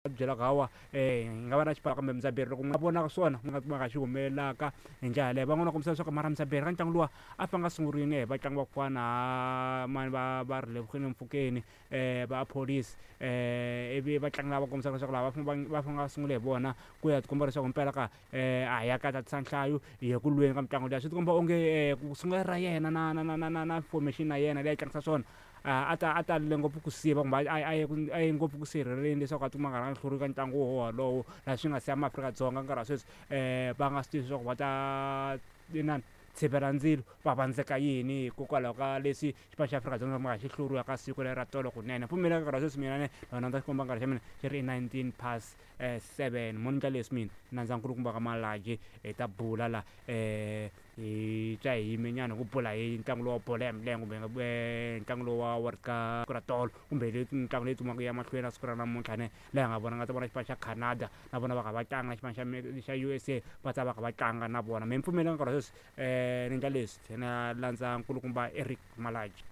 Byelaka hawa hi nga va na xipano kambe Mudzaberi loko nga vonaka swona ku nga nga xi humelelaka hi ndlela yaleyo. Van'wana va kombisa leswaku mara Mudzaberi ka ntlangu luwa a fanga a sungurile hi vatlangi va ku fana na mani va va ri le Mfukeni va Police ivi vatlangi lava kombisaka leswaku lava va va fanele va sungule hi vona ku ya tikomba leswaku mpela ka a hi ya ka tatisa nhlayo hi ya ku lweni ka mitlangu liya. Swi tikomba onge ku sungula ra yena na na na na na na formation ya yena leyi a tlangisa swona a ta a talele ngopfu ku siva kumbe a ye a ye ngopfu ku sirheleleni leswaku a tikuma a karhi a hluriwa ka ntlangu wolowo laha swi nga siya maAfrika-Dzonga nkarhi wa sweswi va nga swi tivi leswaku va ta inani tshivela ndzilo va vandzeka yini hikokwalaho ka leswi xipano xa Afrika-Dzonga xi nga xi hluriwa ka siku leri ra tolo kunene. Pfumela nkarhi wa sweswi mina ni loko ni xikomba nkarhi xa mina xi ri 19 past 7 mo ni ndla leswi mina nandza nkulukumba ka Malaji hi ta bula la hi twa hi yime nyana hi ku bula hi ntlangu lowu wa bolo ya milenge kumbe ntlangu lowu wa World Cup siku ra tolo kumbe leyi mitlangu leyi dzumaku ya mahlweni na siku ra namuntlha ne laha hi nga vona nga ta vona xipano xa Canada na vona va kha va tlanga na xipano xa xa U_S_A va ta va kha va tlanga na vona me ni pfumela nkarhi wa sweswi ni ndla leswi na landza nkulukumba Eric Malaji.